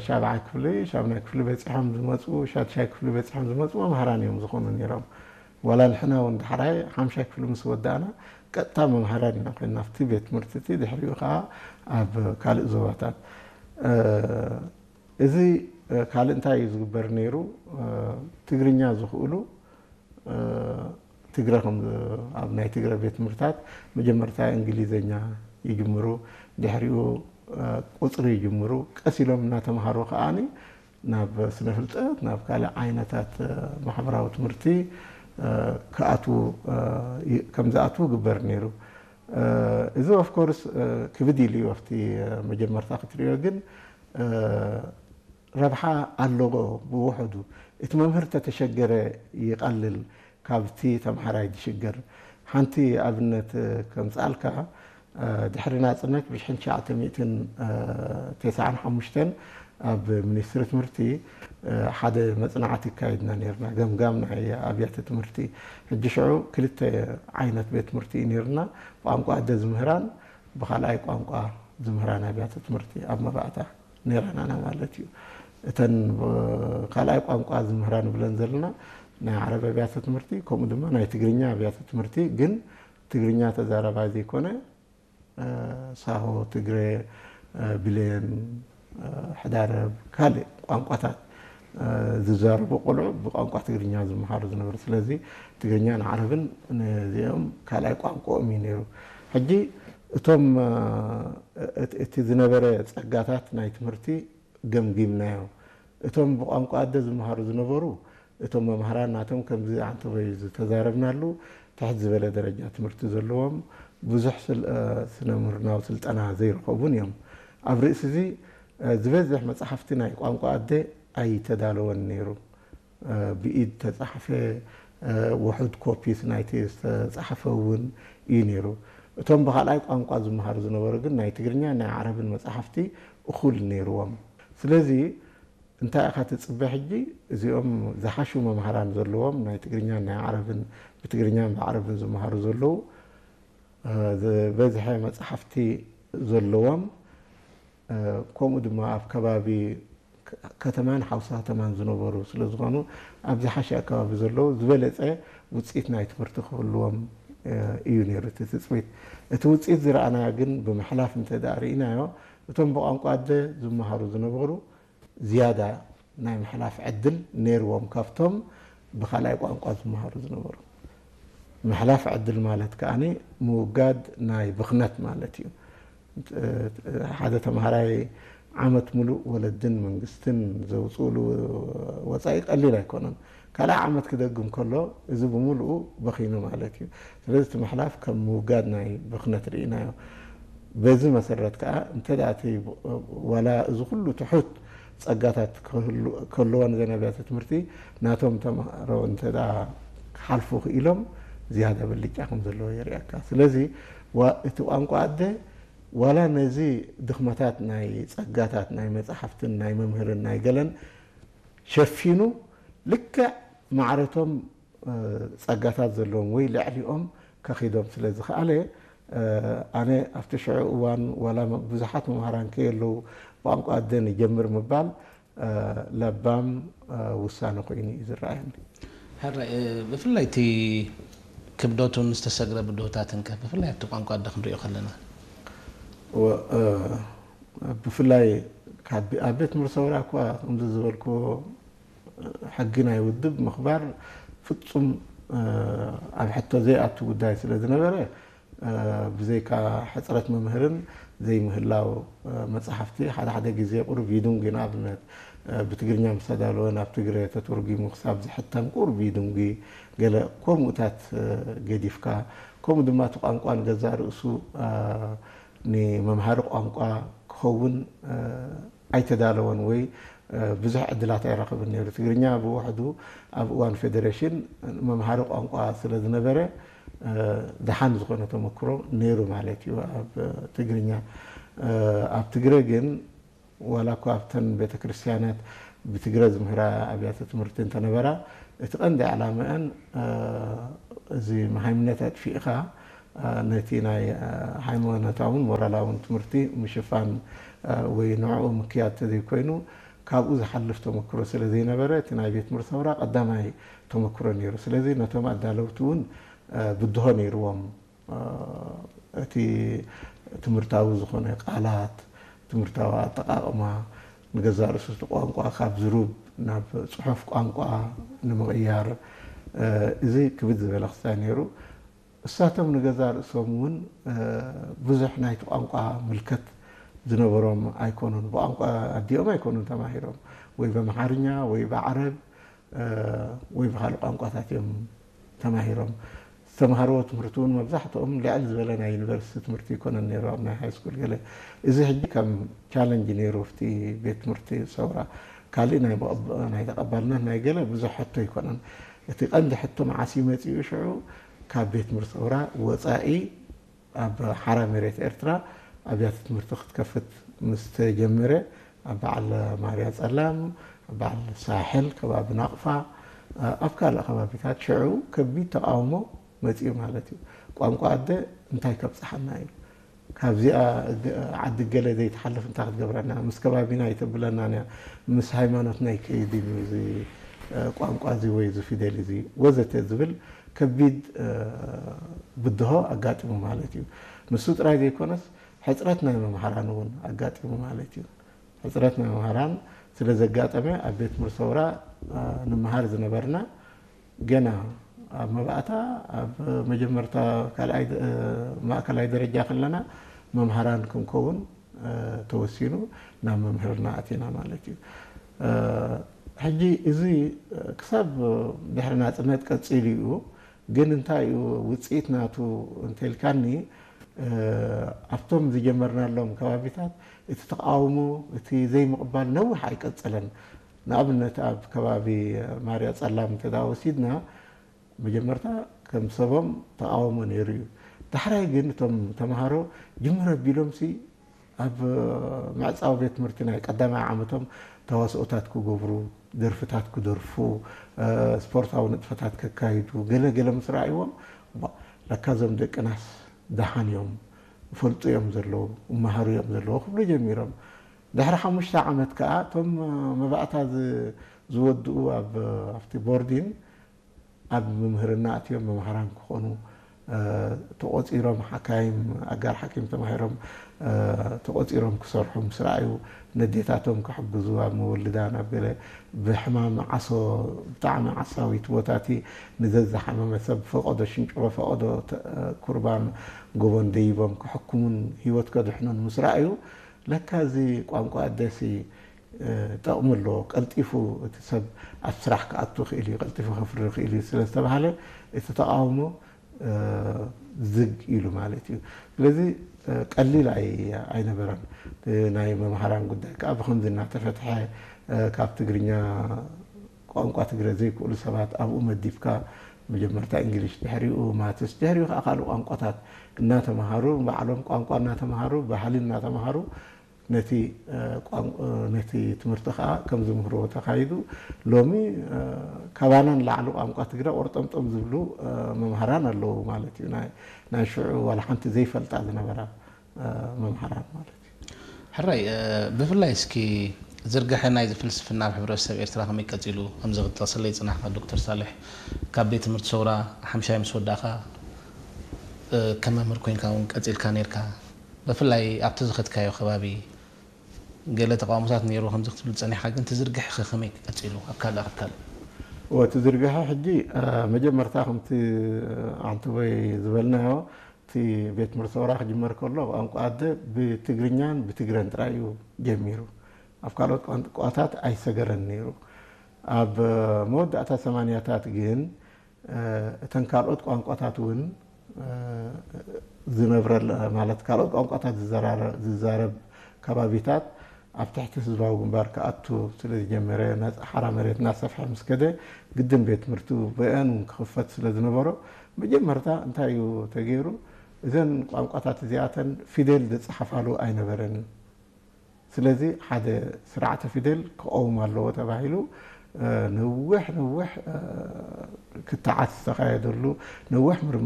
ሻብዓይ ክፍሊ፣ ሻምናይ ክፍሊ በፂሖም ዝመፁ፣ ሻድሻይ ክፍሊ በፂሖም ዝመፁ መምሃራን እዮም ዝኾኑ ነይሮም። ዋላ ንሕና እውን ዳሕራይ ሓምሻይ ክፍሊ ምስ ወዳእና ቀጥታ መምሃራን ኢና ኮይና ኣብቲ ቤት ትምህርቲ እቲ፣ ድሕሪኡ ከዓ ኣብ ካልእ ዞባታት። እዚ ካልእ እንታይ እዩ ዝግበር ነይሩ? ትግርኛ ዝኽእሉ ትግረ ከም ኣብ ናይ ትግረ ቤት ትምህርታት መጀመርታ እንግሊዘኛ ይጅምሩ፣ ድሕሪኡ ቁፅሪ ይጅምሩ። ቀስ ኢሎም እናተምሃሩ ከዓኒ ናብ ስነ ፍልጠት፣ ናብ ካልእ ዓይነታት ማሕበራዊ ትምህርቲ ክኣትዉ፣ ከም ዝኣትዉ ግበር ነይሩ። እዚ ኦፍኮርስ ክብድ ኢሉ እዩ ኣብቲ መጀመርታ ክትሪኦ፣ ግን ረብሓ ኣለዎ ብውሕዱ። እቲ መምህር ተተሸገረ ይቐልል ካብቲ ተምሓራይ ዝሽገር። ሓንቲ ኣብነት ከምፅኣልካ፣ ድሕሪ ናፅነት ብሽሕን ትሽዓተ ሚእትን ተስዓን ሓሙሽተን ኣብ ሚኒስትሪ ትምህርቲ ሓደ መፅናዕቲ ይካየድና ነርና፣ ገምጋም ናይ ኣብያተ ትምህርቲ። ሕጂ ሽዑ ክልተ ዓይነት ቤት ትምህርቲ እዩ ነርና፣ ቋንቋ ኣደ ዝምህራን ብካልኣይ ቋንቋ ዝምህራን ኣብያተ ትምህርቲ ኣብ መባእታ ነረናና ማለት እዩ። እተን ካልኣይ ቋንቋ ዝምህራ ንብለን ዘለና ናይ ዓረብ ኣብያተ ትምህርቲ፣ ከምኡ ድማ ናይ ትግርኛ ኣብያተ ትምህርቲ፣ ግን ትግርኛ ተዛራባይ ዘይኮነ ሳሆ፣ ትግረ፣ ብሌን፣ ሕዳረብ፣ ካልእ ቋንቋታት ዝዛረቡ ቆልዑ ብቋንቋ ትግርኛ ዝመሃሩ ዝነበሩ። ስለዚ ትግርኛን ዓረብን ነዚኦም ካልኣይ ቋንቋኦም እዩ ነይሩ። ሕጂ እቶም እቲ ዝነበረ ጸጋታት ናይ ትምህርቲ ገምጊምናዮ። እቶም ብቋንቋ ኣደ ዝመሃሩ ዝነበሩ፣ እቶም መምሃራን ናቶም ከምዚ ዓንተቦይ ዝተዛረብናሉ ትሕት ዝበለ ደረጃ ትምህርቲ ዘለዎም፣ ብዙሕ ስነ ምህርናዊ ስልጠና ዘይረኸቡን እዮም። ኣብ ርእሲ እዚ ዝበዝሕ መፅሓፍቲ ናይ ቋንቋ ኣደ ኣይተዳለወን ነይሩ። ብኢድ ተፃሕፈ፣ ውሑድ ኮፒስ ናይቲ ዝተፃሕፈ እውን እዩ ነይሩ። እቶም ብካልኣይ ቋንቋ ዝመሃሩ ዝነበሩ ግን ናይ ትግርኛ ናይ ዓረብን መፅሓፍቲ እኹል ነይርዎም። ስለዚ እንታይ ኢኻ ትፅበ ሕጂ? እዚኦም ዝሓሹ መምሃራን ዘለዎም፣ ናይ ትግርኛን ናይ ዓረብን፣ ብትግርኛን ብዓረብን ዝመሃሩ ዘለዉ፣ ዝበዝሐ መፅሓፍቲ ዘለዎም፣ ከምኡ ድማ ኣብ ከባቢ ከተማን ሓውሲ ከተማን ዝነበሩ ስለ ዝኾኑ፣ ኣብ ዝሓሸ ኣከባቢ ዘለዉ ዝበለፀ ውፅኢት ናይ ትምህርቲ ክህልዎም እዩ ነይሩ እቲ ትፅቢት። እቲ ውፅኢት ዝረኣናዮ ግን ብምሕላፍ እንተ ደኣ ርኢናዮ፣ እቶም ብቋንቋ ኣደ ዝመሃሩ ዝነበሩ ዝያዳ ናይ ምሕላፍ ዕድል ነይርዎም ካብቶም ብኻልኣይ ቋንቋ ዝመሃሩ ዝነበሩ። ምሕላፍ ዕድል ማለት ከኣኒ ምውጋድ ናይ ብኽነት ማለት እዩ። ሓደ ተምሃራይ ዓመት ሙሉእ ወለድን መንግስትን ዘውፅእሉ ወፃኢ ቀሊል ኣይኮነን። ካልኣይ ዓመት ክደግም ከሎ እዚ ብምሉኡ በኺኑ ማለት እዩ። ስለዚ እቲ ምሕላፍ ከም ምውጋድ ናይ ብኽነት ርኢናዮ። በዚ መሰረት ከዓ እንተ ደኣ እቲ ዋላ እዚ ኩሉ ትሑት ጸጋታት ክህሉ-፣ ክህልወን እዘን ኣብያተ ትምህርቲ ናቶም ተምሃሮ እንተ ደኣ ክሓልፉ ክኢሎም ዝያዳ ብልጫ ከም ዘለዎ የርእየካ። ስለዚ ዋ-፣ እቲ ቋንቋ ኣደ ዋላ ነዚ ድኽመታት ናይ ጸጋታት ናይ መጻሕፍትን ናይ መምህርን ናይ ገለን ሸፊኑ ልክዕ ማዕረቶም ጸጋታት ዘለዎም ወይ ልዕሊኦም ከኺዶም ስለ ዝኸኣለ፣ ኣነ ኣብቲ ሽዑ እዋን ዋላ ብዙሓት መምሃራን ከየለዉ ብቋንቋ ኣደ ንጀምር ምባል ለባም ውሳነ ኮይኑ እዩ ዝረኣየኒ። ሕራይ፣ ብፍላይ እቲ ክብደቱን ዝተሰግረ ብድሆታትን ከ ብፍላይ ኣብቲ ቋንቋ ኣደ ክንሪኦ ከለና? ወ-፣ ብፍላይ ካብ ኣብ ቤት ትምህርቲ ሰውራ እኳ ከምዚ ዝበልክዎ ሕጊ ናይ ውድብ ምኽባር ፍጹም ኣብ ሕቶ ዘይኣቱ ጉዳይ ስለ ዝነበረ፣ ብዘይካ ሕጽረት መምህርን ዘይምህላው መጻሕፍቲ ሓደ ሓደ ግዜ ቁሩብ ይድንጉ። ንኣብነት ብትግርኛ ምስ ተዳለወ ናብ ትግረ ተተርጒሙ ክሳብ ዝሕተም ቁሩብ ይድንጉ። ገለ ከምኡታት ገዲፍካ፣ ከምኡ ድማ እቲ ቋንቋ ንገዛእ ርእሱ ንመምሃሪ ቋንቋ ክኸውን ኣይተዳለወን ወይ ብዙሕ ዕድላት ኣይረኸብን ነይሩ። ትግርኛ ብውሕዱ ኣብ እዋን ፌደሬሽን መምሃሪ ቋንቋ ስለ ዝነበረ ደሓን ዝኾነ ተመክሮ ነይሩ ማለት እዩ ኣብ ትግርኛ። ኣብ ትግረ ግን ዋላ እኳ ኣብተን ቤተ ክርስቲያናት ብትግረ ዝምህራ ኣብያተ ትምህርቲ እንተነበራ፣ እቲ ቀንዲ ዕላማአን እዚ መሃይምነት ኣጥፊእኻ ነቲ ናይ ሃይማኖታውን ሞራላውን ትምህርቲ ምሽፋን ወይ ንዕኡ ምክያድ ተዘይኮይኑ፣ ካብኡ ዝሓልፍ ተመክሮ ስለ ዘይነበረ፣ እቲ ናይ ቤት ትምህርቲ ሰውራ ቀዳማይ ተመክሮ ነይሩ። ስለዚ ነቶም ኣዳለውቲ እውን፣ እ፣ ብድሆ ነይርዎም። እ፣ እቲ ትምህርታዊ ዝኾነ ቃላት፣ ትምህርታዊ ኣጠቓቕማ፣ ንገዛእ ርእሱ እቲ ቋንቋ ካብ ዝሩብ ናብ ጽሑፍ ቋንቋ ንምቕያር፣ እ፣ እዚ ክብድ ዝበለ ክስታይ ነይሩ። እሳቶም ንገዛእ ርእሶም እውን፣ እ፣ ብዙሕ ናይቲ ቋንቋ ምልከት ዝነበሮም ኣይኮኑን። ብቋንቋ ኣዲኦም ኣይኮኑን ተማሂሮም። ወይ በምሓርኛ፣ ወይ ብዓረብ፣ እ፣ ወይ ብኻልእ ቋንቋታት እዮም ተማሂሮም። ዝተምሃርዎ ትምህርቲ እውን መብዛሕትኦም ልዕል ዝበለ ናይ ዩኒቨርሲቲ ትምህርቲ ኣይኮነን ነይሩ፣ ኣብ ናይ ሃይ ስኩል ገለ። እዚ ሕጂ ከም ቻለንጅ ነይሩ ኣብቲ ቤት ትምህርቲ ሰውራ። ካልእ ናይ ምቕብ-፣ ናይ ተቐባልነት ናይ ገለ ብዙሕ ሕቶ ኣይኮነን። እቲ ቀንዲ ሕቶ መዓስ እዩ መጺኡ ሽዑ? ካብ ቤት ትምህርቲ ሰውራ ወጻኢ ኣብ ሓራ መሬት ኤርትራ ኣብያተ ትምህርቲ ክትከፍት ምስ ተጀመረ፣ ኣብ በዓል ማርያ ጸላም፣ ኣብ በዓል ሳሕል፣ ከባቢ ናቕፋ፣ ኣብ ካልእ ከባቢታት ሽዑ ከቢድ ተቃውሞ መጺኡ ማለት እዩ። ቋንቋ ኣደ እንታይ ከብጽሓና እዩ? ካብዚኣ ግ-፣ ዓዲ ገለ ዘይትሓልፍ እንታይ ክትገብረና? ምስ ከባቢና ኣይተብለናን እያ፣ ምስ ሃይማኖትና ይከይድ እዩ እዚ፣ እ፣ ቋንቋ እዚ ወይ እዚ ፊደል እዚ ወዘተ ዝብል ከቢድ፣ እ፣ ብድሆ ኣጋጢሙ ማለት እዩ። ንሱ ጥራይ ዘይኮነስ ሕጽረት ናይ መምሃራን እውን ኣጋጢሙ ማለት እዩ። ሕጽረት ናይ መምሃራን ስለ ዘጋጠመ ኣብ ቤት ትምህርቲ ሰውራ፣ እ፣ ንምሃር ዝነበርና ገና ኣብ መባእታ ኣብ መጀመርታ ካልኣይ ደ-፣ ማእከላይ ደረጃ ከለና መምሃራን ክንከውን፣ እ፣ ተወሲኑ ናብ መምህርና ኣቲና ማለት እዩ። እ፣ ሕጂ እዚ፣ እ፣ ክሳብ ድሕሪ ናጽነት ቀጺሉ እዩ። ግን እንታይ እዩ ውጽኢት ናቱ እንተልካኒ፣ እ፣ ኣብቶም ዝጀመርናሎም ከባቢታት እቲ ተቃውሞ፣ እቲ ዘይምቕባል ነዊሕ ኣይቀጸለን። ንኣብነት ኣብ ከባቢ ማርያ ጸላም እንተ ደኣ ወሲድና፣ መጀመርታ ከም ሰቦም ተቃውሞ ነይሩ እዩ። ዳሕራይ ግን እቶም ተምሃሮ ጅምር ኣቢሎምሲ ኣብ መዕጻዊ ቤት ትምህርቲ ናይ ቀዳማይ ዓመቶም ተዋስኦታት ክገብሩ፣ ደርፍታት ክደርፉ፣ እ፣ ስፖርታዊ ንጥፈታት ከካይዱ፣ ገለ ገለ ምስ ረኣይዎም፣ "ባ፣ ለካ እዞም ደቅናስ ደሓን እዮም፣ ይፈልጡ እዮም ዘለዉ፣ ይመሃሩ እዮም ዘለዉ" ክብሉ ጀሚሮም። ድሕሪ ሓሙሽተ ዓመት ከኣ እቶም መባእታ ዝ-፣ ዝወድኡ ኣብ፣ ኣብቲ ቦርዲን ኣብ ምምህርና ኣትዮም መምሃራን ክኾኑ፣ እ፣ ተቖጺሮም፣ ሓካይም፣ ኣጋር ሓኪም ተማሂሮም፣ እ፣ ተቖጺሮም ክሰርሑ ምስ ረኣዩ፣ ነዴታቶም ክሕግዙ ኣብ መወልዳ፣ ናብ ገለ ብሕማም ዓሶ፣ ብጣዕሚ ዓሳዊት ቦታ፣ እቲ ንዘዝሓመመ ሰብ ፈቐዶ ሽንጭሮ፣ ፈቐዶ ተ-፣ እ፣ ኩርባን ጎቦን ደይቦም ክሕክሙን ህይወት ከድሕኑን ምስ ረኣዩ፣ ለካ እዚ ቋንቋ ኣደሲ፣ እ፣ ጠቕሚ ኣለዎ፣ ቀልጢፉ እቲ ሰብ ኣብ ስራሕ ክኣቱ ይኽእል እዩ፣ ቀልጢፉ ከፍሪ ይኽእል እዩ ስለ ዝተባህለ፣ እቲ ተቓውሞ፣ እ፣ ዝግ ኢሉ ማለት እዩ። ስለዚ፣ እ፣ ቀሊል ኣይ-፣ ኣይነበረን። እቲ ናይ መምሃራን ጉዳይ ከኣ ብኸምዚ እናተፈትሐ፣ እ፣ ካብ ትግርኛ ቋንቋ ትግረ ዘይክእሉ ሰባት ኣብኡ መዲብካ፣ መጀመርታ እንግሊሽ፣ ድሕሪኡ ማትስ፣ ድሕሪኡ ከኣ ካልእ ቋንቋታት እናተምሃሩ፣ ባዕሎም ቋንቋ እናተምሃሩ፣ ባህሊ እናተምሃሩ፣ ነቲ፣ እ፣ ቋን-፣ እ፣ ነቲ ትምህርቲ ከኣ ከም ዝምህርዎ ተኻይዱ። ሎሚ፣ እ፣ ካባና ንላዕሊ ቋንቋ ትግረ ቁርጥምጥም ዝብሉ፣ እ፣ መምሃራን ኣለዉ ማለት እዩ። ናይ፣ ናይ ሽዑ ዋላ ሓንቲ ዘይፈልጣ ዝነበራ፣ እ፣ መምሃራን ማለት እዩ። ሕራይ፣ እ፣ ብፍላይ እስኪ ዝርግሐ ናይዚ ፍልስፍና ኣብ ሕብረተሰብ ኤርትራ ከመይ ቀጺሉ ከም ዝቕጽለይ ጽናሕካ ዶክተር ሳልሕ፣ ካብ ቤት ትምህርቲ ሰውራ ሓምሻይ ምስ ወዳእካ፣ እ፣ ከም መምህር ኮይንካ እውን ቀጺልካ ነይርካ። ብፍላይ ኣብቲ ዝኸድካዮ ከባቢ ገለ ተቃውሞታት ነይሩ ከምዚ ክትብል ጸኒሕካ፣ ግን እቲ ዝርግሐ ከ ከመይ ቀጺሉ? ኣብ ካልእ፣ ኣብ ካልእ? እወ፣ እቲ ዝርግሐ ሕጂ፣ እ፣ መጀመርታ ከምቲ ዓንተቦይ ዝበልናዮ፣ እቲ ቤት ትምህርቲ ሰውራ ክጅመር ከሎ ቋንቋ ኣደ ብትግርኛን ብትግረን ጥራይ እዩ ጀሚሩ። ኣብ ካልኦት ቋንቋታት ኣይሰገረን ነይሩ። ኣብ መወዳእታ ሰማንያታት ግን፣ እ፣ እተን ካልኦት ቋንቋታት እውን፣ እ፣ ዝነብረለ፣ ማለት ካልኦት ቋንቋታት ዝዘራረ-፣ ዝዛረብ ከባቢታት ኣብ ትሕቲ ህዝባዊ ግንባር ክኣቱ ስለ ዝጀመረ፣ ናጻ ሓራ መሬት እናሰፍሐ ምስ ከደ፣ ግድን ቤት ትምህርቲ ብአን እውን ክኽፈት ስለ ዝነበሮ፣ መጀመርታ እንታይ እዩ ተገይሩ? እዘን ቋንቋታት እዚኣተን ፊደል ዝጸሓፋሉ ኣይነበረን። ስለዚ ሓደ ስርዓተ ፊደል ክቐውም ኣለዎ ተባሂሉ፣ እ፣ ነዊሕ ነዊሕ፣ እ፣ ክትዓት ዝተኻየደሉ፣ ነዊሕ ምርምር